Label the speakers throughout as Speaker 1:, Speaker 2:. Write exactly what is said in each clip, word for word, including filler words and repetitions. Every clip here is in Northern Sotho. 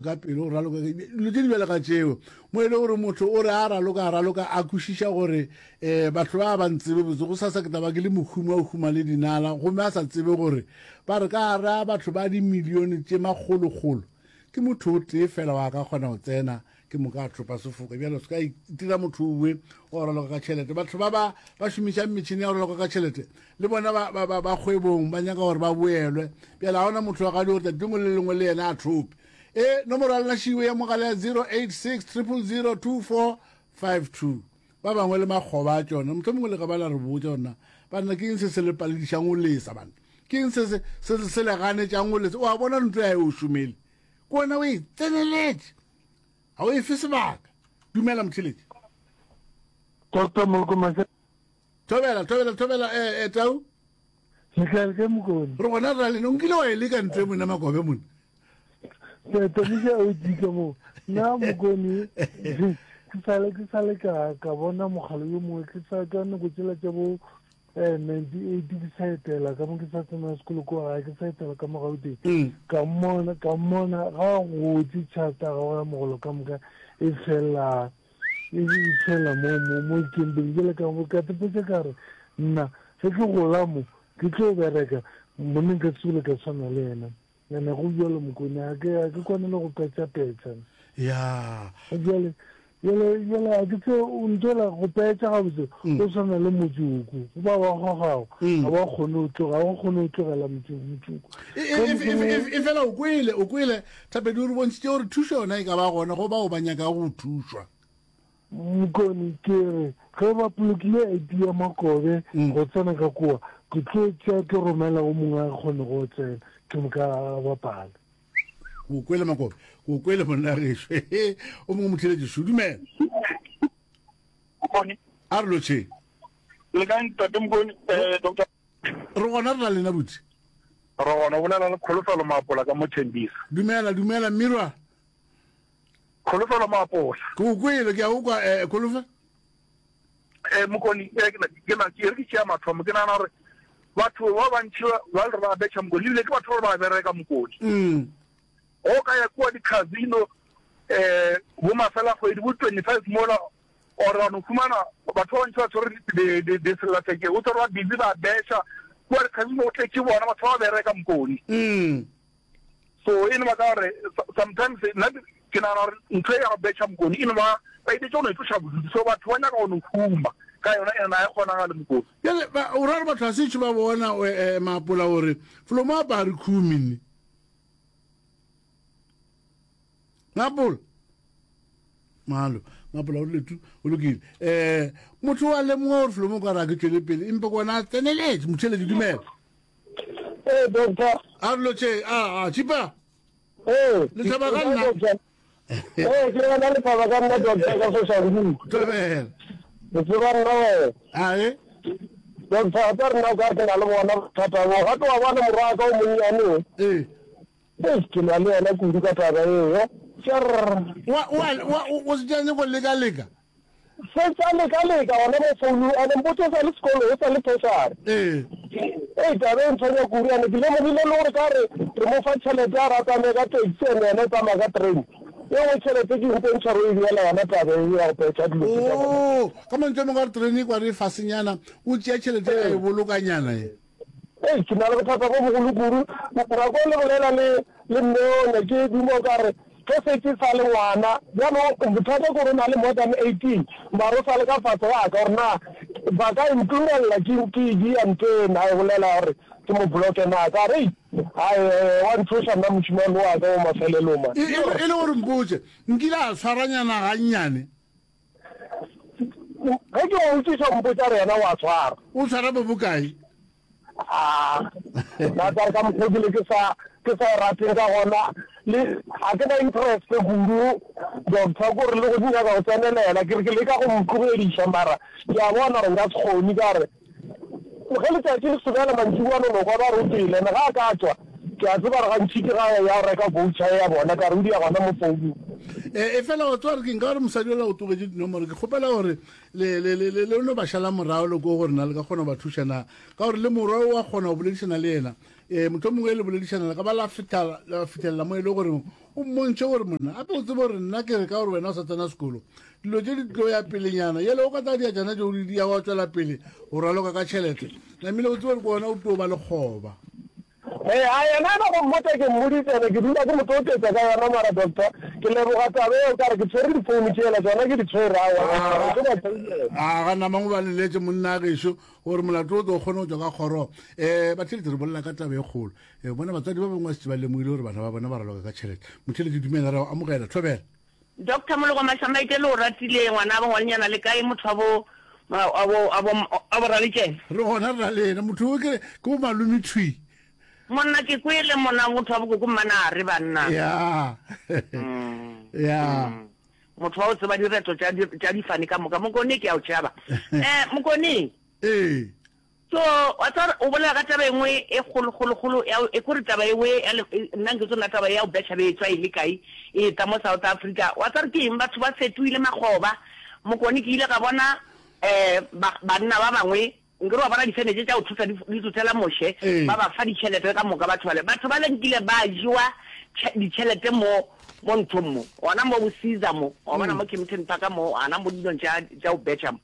Speaker 1: Ka pele o raloka dilo tše di bjalo ka tšeo, mo e le gore motho o re a raloka a raloka a kwešiša gore um batho ba ba ntsebe botse, go sasa ke tla ba ke le mohumi wa go huma le dinala, gomme a sa tsebe gore ba re ka gare a batho ba dimilione tše makgolokgolo ke motho o tee fela wa ka kgona go tsena ke moka a thopa sefoka. Bjalo se ka itira motho owe wa go raloka ka tšhelete. Batho ba ba ba šomišang metšhini ya go raloka ka tšhelete le bona ba, ba, ba, ba kgwebong ba nyaka gore ba boelwe. Bjale ga ona motho wa gadi gore tšatši lengwe le lengwe le yena a thope. E, nomoro ya lena šiwe ya mogala ya zero eight six triple zero two four five two. Ba bangwe le makgoba a tšona, mohlomongwe le ka ba la re botša gore na banna ke eng se se le paledišang go lesa, banna ke eng se se, se, se le ganetšang go lesa. O a bona ntlo ya e o šomele, ke wena o e tseneletše, ga o e fe sebaka. Dumela motheletši.
Speaker 2: Doctor Moloko Mase.
Speaker 1: Thobela, thobela, thobela, eh, eh, Tau.
Speaker 2: Le kae, le kae Mokone?
Speaker 1: Re gona re ra lena. O nkile wa e leka ntlo e monna Makobe monna?
Speaker 2: Tamiša o dika mo. Nna Mokone, ke sale ke sale ka ka bona mogala yo mongwe ke sa ka nako tsela tša bo eh ninety eight ke sa etela ka mo ke sa tsena sekolo kwa gae ke sa etela ka mo Gauteng.
Speaker 1: Mm.
Speaker 2: Ka mmona ka mmona ga gotse tšhata ga ya mogolo ka moka e fela e fela mo mo mo kembeng jale ka ka tepetsa ka re nna ge ke gola mo ke tlo bereka monneng ka tsole ka tshwana le yena. Ene go bjalo Mokone, a ke a ke kwane le go petša-petša.
Speaker 1: Ya.
Speaker 2: Bjale, bjale, bjale a ke tse o ntwela go petša gabotse,
Speaker 1: Mm.
Speaker 2: o swana le motsoko, go ba wa gogago,
Speaker 1: Mm.
Speaker 2: ga ba kgone go tloga, ga ba kgone go tlogela motse motsoko.
Speaker 1: E, e, e, e, e, e fela o kwele, o kwele, Thapedi o re bontšhitše gore thušo yona e ka ba gona go bao ba nyakago go thušwa.
Speaker 2: Mokone, ke re, ge ba polokile I D ya Makobe
Speaker 1: Mm.
Speaker 2: go tsena ka kua, ke tlo tšea ke romela o mongwe a kgone go tsena, ke moka a bapale.
Speaker 1: Ke o kwele Makobe, ke o kwele monna gešo. O mongwe motheletši šo, dumela.
Speaker 3: Mokone.
Speaker 1: A re lotšheng.
Speaker 3: Le kae ntate Mokone, eh, Doctor?
Speaker 1: Re gona re na lena butse.
Speaker 3: Re gona, o bolela le Kholofelo Maapola ka mo Tembisa.
Speaker 1: Dumela, dumela Mmirwa.
Speaker 3: Kholofelo Maapola.
Speaker 1: Ke o kwele, ke a o kwa, eh, Kholofelo.
Speaker 3: Eh, Mokone, eh, ke na, ke na, ke re ke tšea mathomo, ke nagana gore batho ba bantši ba, ba le re ba betšha Mokone, ebile ke batho ba ba bereka Mokone.
Speaker 1: Mm.
Speaker 3: Go ka ya kua di-casino, eh, bo mafela kgwedi, bo twenty-five mola, or wa no fumana batho ba bantši ba tshwere di, di, di sellathekeng, o tshwere ba busy ba betšha kua di-casino, go tletše bona batho ba ba bereka Mokone.
Speaker 1: Mm.
Speaker 3: So e no ba ka gore sometimes nna ke nagana gore ntho e ya go betšha Mokone e no ba ba itetse go no itloša bodutu, so batho ba nyaka go no huma ka yona, ene na e kgonagale Mokone.
Speaker 1: Bjale ba o ra gore batho ga se tšo ba bona eh, Maapola gore felo mo apare khumi nne. Maapola. Malo, Maapola o rile tu, o lokile. Eh, motho wa lemoga gore felo mo ka ra ke tšwele pele, empa ke bona a tseneletše, motheletši dumela.
Speaker 4: Ee, doctor.
Speaker 1: A re lotšhe, a, a, Tšipa.
Speaker 4: Ee.
Speaker 1: Le thaba ka nna.
Speaker 4: Ee, ke yona le thaba ka nna, doctor, ka Soshanguve.
Speaker 1: Thobela.
Speaker 4: Le tseba nna wena.
Speaker 1: Ae.
Speaker 4: Doctor, a tsa rena o ka re ke na le bona bothata bo. Gape wa bona morwa wa ka o monnyane o.
Speaker 1: Ee.
Speaker 4: Ee, ke lwa le yena kudu ka taba eo. Tšerr.
Speaker 1: Wa, wa, wa, o se tšane go leka-leka.
Speaker 4: Se tša leka-leka gona mo founung, ene mpotše o sa le sekolo, o sa le tertiary.
Speaker 1: Ee.
Speaker 4: Ei, taba e ntshwenya kudu, ene ke lemogile le gore ka re re mo fa tšhelete a re a tsamaye ka taxi ene yena o tsamaya ka train. E nngwe tšhelete ke mpontšha gore o e beela yona taba e ya go petšha dilo tše tša bona.
Speaker 1: Oo, ka mantšu a mangwe a re train e kwa re e fasenyana, o tšea tšhelete a e bolokanyana e.
Speaker 4: Ei, ke na le bothata bo bogolo kudu. Nako le bolela le, le mme o ne ke duma o ka re ge se ke sa le ngwana. Bjalo bothata ke gore o na le more than eighteen, mara o sa le ka fase ga ka gore na ba ka e ntumelela ke, ke e dia ntho e na e bolela gore ke mo blocke na. Ka re, ei, hai, wa ntšhoša nna mošemane wa ka o mafelelong man.
Speaker 1: E, e, e le gore mpotše, nkile a tshwaranyana gannyane?
Speaker 4: Ge ke mo botšiša o mpotša gore yena o a tshwara.
Speaker 1: O tshwara bo bokae?
Speaker 4: Ah, nna ka re ka mokgwa ke le ke sa ke sa e rateng ka gona le ga ke na interest kudu doctor ko re le go nyaka go tsenelela ke re ke leka go mo tlogediša mara ke a bona gore nka se kgone ka re ge letšatši le sobela mantšiboa no no kwa ba re o tšwele ene ga a ka tšwa ke a tseba gore gantši ke ga ya go reka voucher ya bona ka re o dia gona mo founung.
Speaker 1: E, efela wa tseba gore ke nka gore mosadi ola o tlogetše dinomoro ke kgopela gore le, le, le, le, le no ba šala morago le ko gore na le ka kgona go ba thuša na, ka gore le morwa o a kgona go boledišana le yena. E, mohlomongwe le boledišana le ka ba la fihla, la fihlelela mo e le gore O mmontšhe gore monna gape o tsebe gore nna ke re ka gore wena o sa tsena sekolo dilo tše di tlo ya pelenyana yele o ka tsaya diatšana tšeo di ya wa tswela pele o raloka ka tšhelete namile o tsebe gore ke wena o tlo ba lekgoba.
Speaker 4: Ee, a yena ena go mmotša ke mmoditše ene ke dula ke mo toketša ka yona mara doctor ke leboga taba eo ka re ke tshwere di phone tšela tšona ke di tshwere aowa ke tlo ba founela.
Speaker 1: A ga namang o ba leletše monna gešo gore molato o tlo kgone go tšwa ka kgoro. Um batheeletši re bolela ka taba e kgolo. Um bona batswadi ba bangwe ba šetše ba lemogile gore bana ba bona ba raloka ka tšhelete. Motheeletši dumela re a go amogela. Thobela.
Speaker 5: Doctor Moloko Mashamaite le o ratile ngwana bo ngwanenyana le kae motho wa bo wa bo wa bo wa bo Raletšene.
Speaker 1: Re gona re na le yena motho o ke ke bo malome thwi.
Speaker 5: Monna ke kwele mona motho wa bokoko mmana re banna.
Speaker 1: Ya. Ya.
Speaker 5: Motho wa o tseba direto tša tša difane ka moka. Mokone ke a o tšhaba. Eh Mokone.
Speaker 1: Ee.
Speaker 5: So wa tseba o bolela ka taba engwe e kgolo kgolo kgolo ya e kore taba ewe ya nna nke tsona taba ya o betšha be e tswa e le kae e tla mo South Africa. Wa tseba ke eng batho ba fetoile makgoba. Mokone ke ile ka bona eh banna ba bangwe nkere wa bona difene tše tša go thotha di thothela Moshe ba ba fa ditšhelete ka moka batho bale. Batho bale nkile ba jewa ditšhelete mo mo nthong mo gona mo bo Caesar mo wa bona mo Kempton Park mo gona mo dilong tša tša go betšha mo.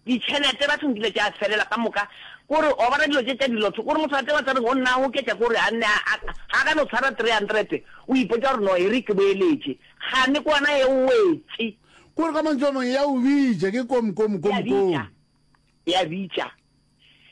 Speaker 5: Ditšhelete batho nkile tša felela ka moka kore wa bona dilo tše tša dilotho kore motho a tseba tsa reng o nna a goketša kore a nne a ga ka no tshwara three hundred o ipotša gore no e re ke boeletše kgane ke ona e wetše.
Speaker 1: Kore ka mantšu a mangwe ya o bitša ke kom kom kom kom.
Speaker 5: Ya bitša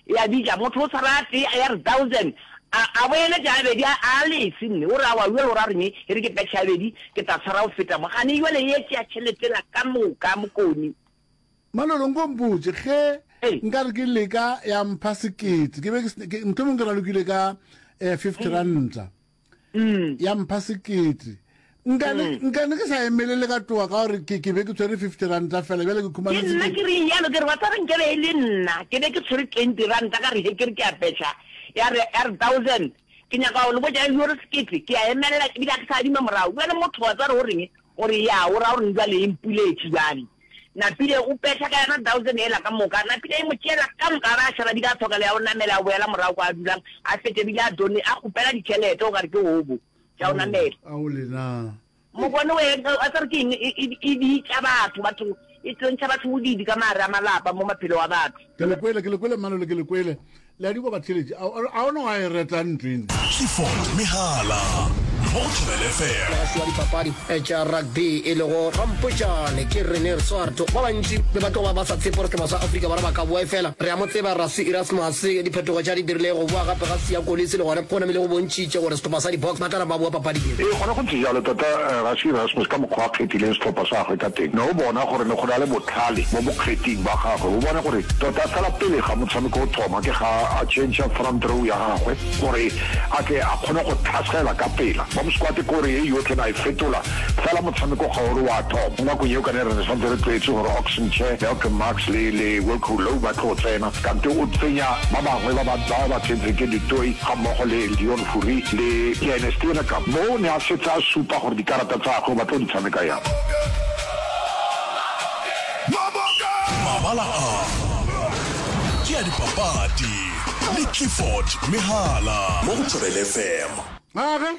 Speaker 5: ya bitša motho o tshwara a tee ya re thousand a a boeletša a bedi a a lese nne o re aowa jwale o ra reng e re ke petšhe ya bedi ke tla tshwara go feta mo gane jwale ye tšea tšhelete la ka moka Mokoni.
Speaker 1: Malolo nko mpotše ge nka re ke leka ya mpha sekete ke be ke mohlomong ke ralokile ka eh, fifty ranta ya mpha sekete nkane nkane ke sa emelele ka toa ka gore ke ke be ke tshwere fifty ranta fela bjale ke khumana
Speaker 5: Ke nna ke reng yalo ke re wa tseba nke be e le nna ke be ke tshwere twenty ranta ka re he ke re ke a petšha ya re ya re thousand ke nyaka go le botša yo re sekete ke a emelela ebile ga ke sa adima morago bjale motho wa tseba gore o reng o re ya o ra gore jwale e mpuletše bjale Napile o petšha ka yona thousand ela ka moka. Napile e mo tšeela ka moka a ba a šala bile a hloka le ya go namela a boela morago kwa a dulang a fetše bile a done a kgopela ditšhelete o kare ke hobo tša go namela.
Speaker 1: Ao lena.
Speaker 5: Mokone we a tsare ke eng e e bitša batho batho e tlontšha batho bodiidi ka maare a malapa mo maphelo a batho.
Speaker 1: Ke le kwele ke le kwele Mmalole ke le kwele. Le a di kwa batheeletši? A a ona wa e reta ntlo ene?
Speaker 6: Clifford Mehala mo go Thobela F M.
Speaker 7: Mogaši wa dipapadi tša rugby e lego Rampotšane ke Rene Swart. Ba bantši be ba tloga ba sa tshepe gore sehlopha sa Afrika Borwa ba ka boa efela re a mo tseba Rassie Erasmus. Diphetogo tša di dirilego go boa gape ga Siya Kolisi le gona go namile go bontšhitše gore sehlopha sa di-Boks ba tla napa ba boa papading ye.
Speaker 8: Ee, gona go ntse jalo. Tota Rassie Erasmus ka mokgwa a kgethileng sehlopha sa gagwe ka teng, ne o bona gore ne go na le bohlale mo bokgething ba gagwe. O bone gore tota fela pele ga motshameko o thoma ke ga a tšhentšha front row ya gagwe gore a tle a kgone go tlhasela ka pela. Bomb squad ke gore ye yotlhe na e fetola fela motshameko ga o re wa thoma. Mo nakong yeo ka ne re santse re tlwaetse gore Ox Nche, Malcolm Marx le le Wilco Louw ba tlo tsena, kante o tsenya ba bangwe ba ba ba ba tsentseng ke Du Toit gammogo le Deon Fourie le ke ene Steenekamp. Mo o ne a setse a supa gore dikarata tsa gagwe o batla go di tshameka yang.
Speaker 6: Mabala a ke a dipapadi le Clifford Mehala mo go Thobela F M.
Speaker 1: Age,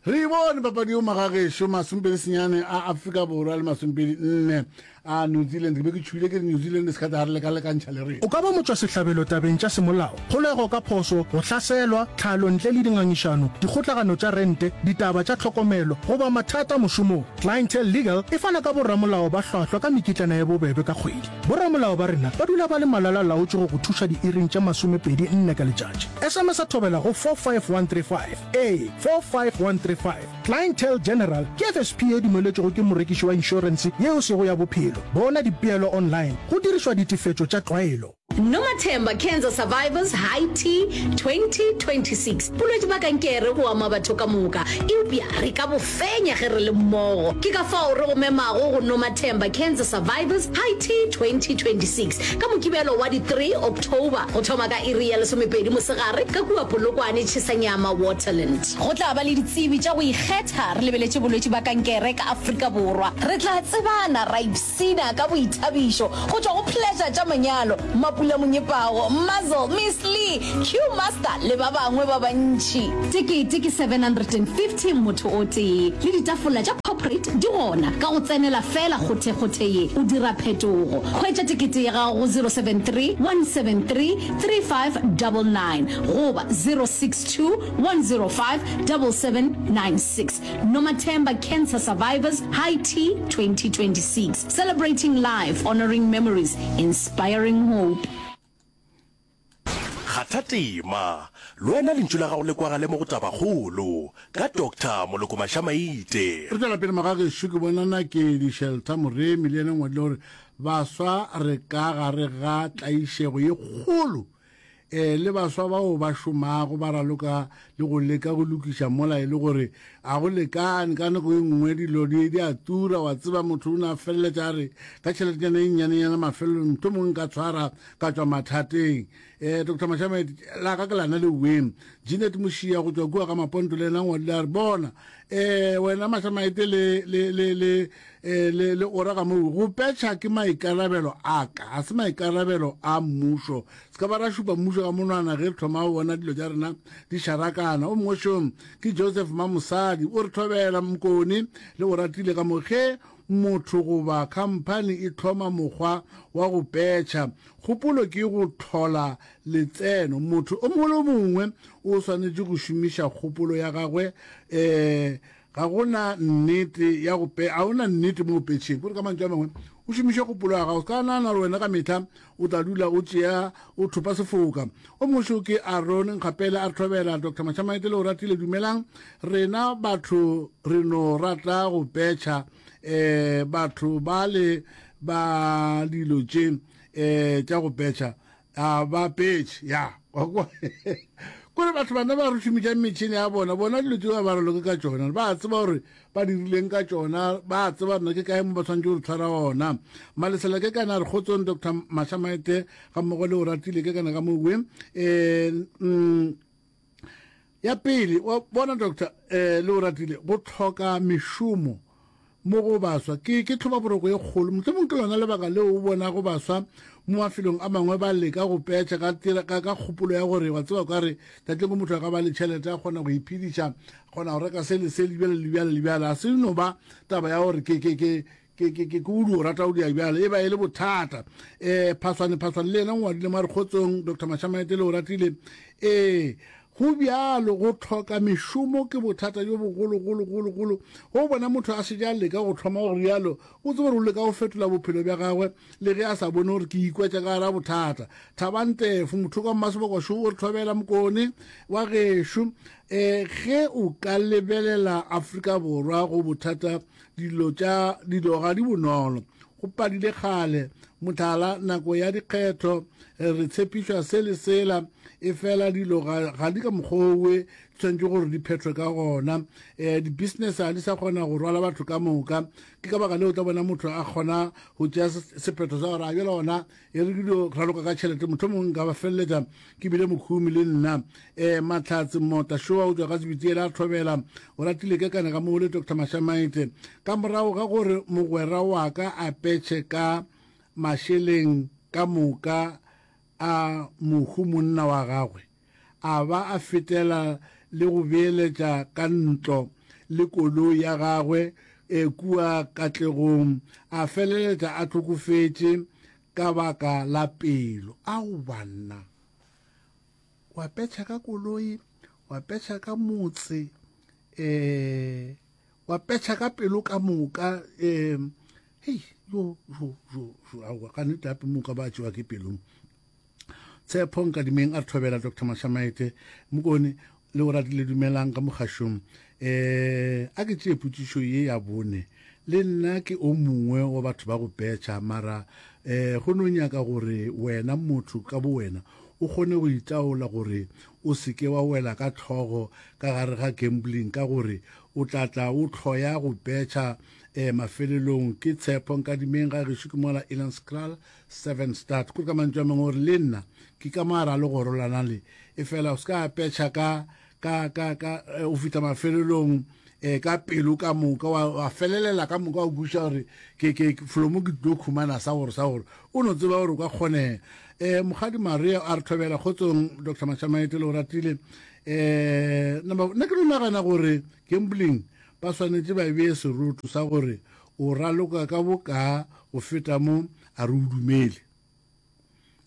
Speaker 1: re e bone papadi yeo magagešo masomepedi senyane a Afrika Borwa le masomepedi nne a New Zealand. Ke be ke tšhogile ke re New Zealand e se ka tla re lekalekantšha le rena.
Speaker 9: O ka ba motšwasehlabelo tabeng tša semolao, kgolego ka phoso, go hlaselwa, tlhalo ntle le dingangišano, dikgotlagano tša rente, ditaba tša tlhokomelo, goba mathata mošomong. Clientele Legal e fana ka boramolao ba hlwahlwa ka mekitlana ye bobebe ka kgwedi. Boramolao ba rena ba dula ba le malala-laotšwe go go thuša diiring tše masomepedi nne ka letšatši. S M S Thobela go four five one three five ee, four five one three five. Clientele General ke F S P ye dumeletšwego ke morekiši wa inšorense ye e sego ya bophelo. Bona dipeelo online go dirišwa ditefetšo tša tlwaelo.
Speaker 10: Nomathemba Cancer Survivors High Tea twenty twenty six Bolwetši bja kankere bo ama batho ka moka, eupša re ka bo fenya ge re le mmogo. Ke ka fao re go memago go Nomathemba Cancer Survivors High Tea twenty twenty six ka Mokibelo wa di three October go thoma ka iri ya lesomepedi mosegare ka kua Polokwane Tšhesanyama Waterland. Go tla ba le ditsebi tša go ikgetha re lebeletše bolwetši bja kankere ka Afrika Borwa. Re tla tsebana ra ipshina ka boithabišo go tšwa go Pleasure tša manyalo, Mapula Monyepago, Muzzle, Miss Lee, Q Master le ba bangwe ba bantši. Tekete ke seven hundred and fifty motho o tee, le ditafola tša corporate di gona. Ka go tsenela feela kgothekgothe ye, o dira phetogo. Hwetša tekete ya gago go zero seven three, one seven three, three five double nine goba zero six two, one zero five, double seven nine six. Nomathemba Cancer Survivors High Tea twenty twenty six, Celebrating life, honouring memories, inspiring hope.
Speaker 6: Kgatha tema, le wena lentšu la gago le kwagale mo go Tabakgolo ka Doctor Moloko Mashamaite.
Speaker 1: Re tšwela pele magagešo, ke bona Nakedi Shelter Moremi le yena o ngwadile gore baswa re ka gare ga tlaišego ye kgolo e le baswa bao ba šomago ba raloka le go leka go lokiša mola e le gore a go lekane. Ka nako e nngwe dilo di di a tura, wa tseba motho o ne a feleletša a re ka tšheletenyana e nnyanenyana mafelelong mohlomongwe nka tshwara ka tšwa mathateng. Um Doctor Mashamaite, la ka ke lana le weng. Jeanette Mošia go tšwa kua ga Maponto le yena ngwadile a re bona um wena Mashamaite le le le le eh, le le ora ka moo go petšha ke maikarabelo a ka, ga se maikarabelo a mmušo. Se ka ba ra šupa mmušo ka monwana ge re thoma go bona dilo tša rena di šarakana. O mongwe šong ke Joseph Mamosadi, o re thobela Mokone le o ratile ka mo ge motho goba khamphani e hloma mokgwa wa go petšha, kgopolo ke go hlola letseno. Motho o mongwe le o mongwe o swanetše go šomiša kgopolo ya gagwe. Um ga go na nnete ya go pe, ga go na nnete mo go petšheng. Kore ka mantšu a mangwe, o šomiše kgopolo ya gago. Se ka nagana gore wena ka mehla o tla dula o tšea o thopa sefoka. O mongwe šo ke Aaron Nkgapele a re thobela Doctor Mashamaite le o ratile. Dumelang, rena batho re no rata go petšha. Um batho ba le ba dilo tše um tša go petšha a ba petšhe ya kore batho bana ba re šomiša metšhini ya bona, bona dilo tšeo ba raloke ka tšona, ba tseba gore ba dirileng ka tšona, ba tseba rena ke kae mo ba tshwanetse gore tshwara ona. Malesela ke kana re kgotsong Doctor Mashamaite ga mmogo le o ratile ke kana ka mowe. Um ya pele wa bona Doctor eh, le o ratile go tlhoka mešomo mo go baswa ke ke tlhobaboroko ye kgolo. Mohlomong ke lona lebaka leo o bonago baswa mo mafelong a mangwe ba leka go petšha ka tira ka ka kgopolo ya gore wa tseba ka re tatleng motho a ka ba le tšhelete a kgona go iphediša, kgona go reka se le se le bjale le bjale le bjale. A se no ba taba ya gore ke ke ke ke ke ke o dio rata o dia bjale, e ba e le bothata. Um Phaswane Phaswane le yena o ngwadile mo a re kgotsong Doctor Mashamaite le o ratile. Ee, go bjalo, go tlhoka mešomo ke bothata bjo bogologologologolo. Go bona motho a šetše a leka go thoma go rialo, o tsebe gore o leka go fetola bophelo bja gagwe le ge a sa bone gore ke ikwetša ka gara bothata. Thabang Tefo, motho ka Mmaseboka šo o re thobela Mokone wa gešo. Um ge o ka lebelela Afrika Borwa go bothata, dilo tša dilo ga di bonolo. Go padile kgale, mohlala nako ya dikgetho re tshepišwa se le sela, efela dilo ga ga di ka mokgwa owe di tshwanetše gore di phethwe ka gona. Um di-business ga di sa kgona go rwala batho ka moka, ke ka baka leo o tla bona motho a kgona go tšea sephetho sa gore a bjale gona e re ke dio raloka ka tšhelete, mohlomongwe nka ba feleletša ke bile mokhumi le nna. Um Mahlatse Mota Shoa o tšwa ka Sebitiela a thobela o ratile ke kana ka moo le Doctor Mashamaite. Ka morago ga gore mogwera wa ka a petšhe ka mašeleng ka moka a mohu monna wa gagwe, a ba a fetela le go beeletša ka ntlo le koloi ya gagwe e kua Katlegong, a feleletša a hlokofetše ka baka la pelo. Ao banna, wa petšha ka koloi, wa petšha ka motse, um wa petšha ka pelo ka moka. Um hei, jo jo jo jo, aowa ka nnete gape moka ba tšewa ke pelong. Tshepo Nkadimeng a re thobela Doctor Mashamaite Mokone le o ratile dumelang ka mogašong. Um a ke tšee potšišo ye ya bone, le nna ke o mongwe wa batho ba go petšha, mara um go no nyaka gore wena motho ka bo wena o kgone go itaola gore o se ke wa wela ka tlhogo ka gare ga gambling, ka gore o tla tla o hloya go petšha um mafelelong. Ke Tshepo Nkadimeng ga gešo ke mola Elandskraal seven start. Kore ka mantšu a mangwe gore le nna ke ka moara le go rolana le e fela o se ka petšha ka ka ka ka o fihla mafelelong um ka pelo ka moka wa, wa felelela ka moka o kwešiša gore ke, ke, folomo ke tlo khumana sa gore sa gore o no tseba gore o ka kgonega. Um Mokgadi Maria a re thobela kgotsong Doctor Mashamaite le o ratile. Um nna ke no nagana gore gambling ba swanetše ba bee seroto sa gore o raloka ka bokaa go feta mo a re o dumele.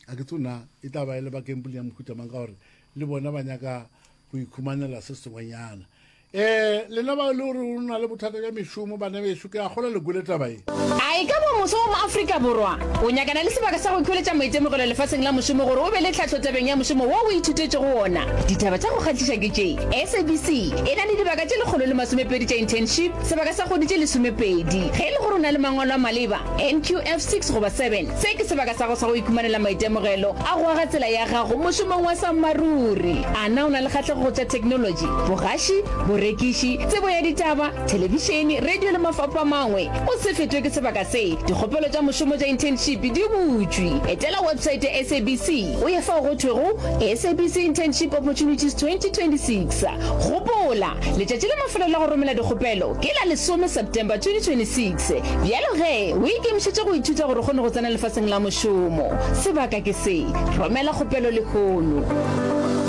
Speaker 1: A ke tsona e tla ba e le ba gambling ya mohuta mang ka gore le bona ba nyaka go ikhumanela se sengwenyana. Um lena ba e le gore o na le bothata bja mešomo bana bešo ke a kgolwa le kwele taba ye.
Speaker 11: A e ka ba moso wa Moafrika Borwa o nyakana le sebaka sa go ikhweletša maitemogelo lefaseng la mošomo gore o be le tlhahlo tabeng ya mošomo wo o ithutetšego wona? Ditaba tša go kgahliša ke tše, SABC e na le dibaka tše lekgolo le masomepedi tša internship, sebaka sa kgwedi tše lesomepedi. Ge e le gore o na le mangwalo a maleba, NQF six goba seven, se ke sebaka sa gago sa go ikhumanela maitemogelo a go aga tsela ya gago mošomong wa sammaruri. A na o na le kgahlego go tša theknolotši, bogaši, borekiši, tsebo ya ditaba, thelebišene, radio le mafapha a mangwe? O se fetwe ke sebaka se. Dikgopelo tša mošomo tša internship di butšwe. Etela websaete ya SABC o ye fao go thwego SABC Internship Opportunities twenty twenty-six. Gopola, letšatši la mafelelo la go romela dikgopelo ke la lesome September twenty twenty-six. Bjalo ge, o ikemišetše go ithuta gore o kgone go tsena lefaseng la mošomo. Sebaka ke se. Romela kgopelo lehono.